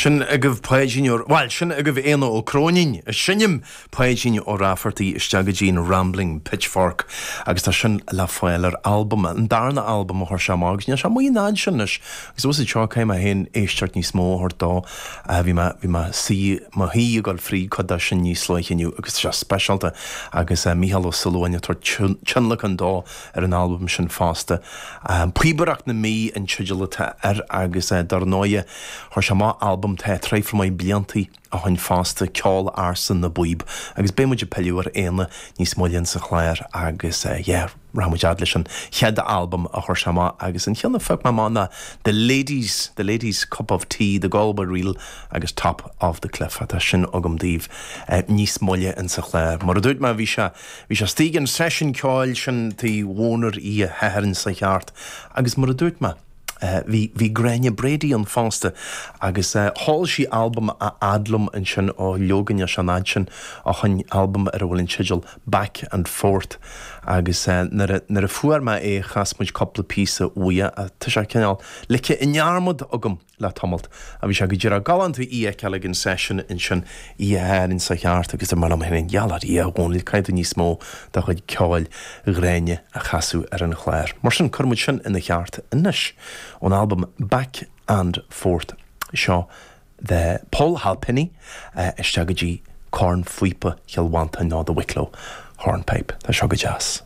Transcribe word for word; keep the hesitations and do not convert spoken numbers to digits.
Sin agaibh Páidín Ó, bhuel, sin agaibh Éanna Ó Cróinín, ag seinm Páidín Ó Raifeartaigh isteach go dtí an Rambling Pitchfork agus tá sin le fáil ar albam, an darna albam a chuir sé amach agus níl sé amuigh an fhad sin anois agus os seo caithfidh mé féin éisteacht níos mó a thabhairt dó. Bhí mé, bhí mé suí, mo shuí ag dul fríd cuid de sin níos luaithe inniu agus tá sé speisialta agus Mícheál Ó Súilleabháin ag tabhairt tionlacan dó ar an albam sin fosta. Píobaireacht na Mí an teideal atá air agus dar ndóighe chuir sé amach albam tá traidhfil maith bliantaí ó shin fosta, Ceol Ársa na bPíob agus beidh muid ag pilleadh ar Éanna níos moille insa chlár agus yeah rachaidh muid fhad leis an chéad albam a chuir sé amach agus an cheann a phioc mé amach ná The Ladies, The Ladies Cup of Tea, The Galway Reel agus Top of the Cliff atá sin agam daoibh níos moille insa chlár. Mar a dúirt mé bhí sé bhí sé istigh an seisiún ceoil sin Tigh Mhónair oíche Shathairn seo cheart agus mar a dúirt mé bhí bhí Gráinne Brady ann fosta agus sheol sí albam a fhad liom ansin ó leoga níl sé an fhad sin ó shin albam ar a bhfuil an teideal Back and Forth agus nuair a nuair a fuair mé é chas muid cúpla píosa uaidh tá sé cineál ligthe i ndearmad agam le tamalt a bhí sé go díreach galánta í a fheiceáil ag an seisiún ansin oíche Shathairn seo cheart agus mar liom féin gheall ar Dhia a Dhónaill caithfidh tú níos mó de chuid ceoil Ghráinne a chasadh ar an chlár. Mar sin cuir muid sin ina cheart anois ón albam Back and Forth seo the Paul Halpenny isteach go dtí cornphíopa Chill Mhantáin nó The Wicklow Hornpipe. Tá seo go deas.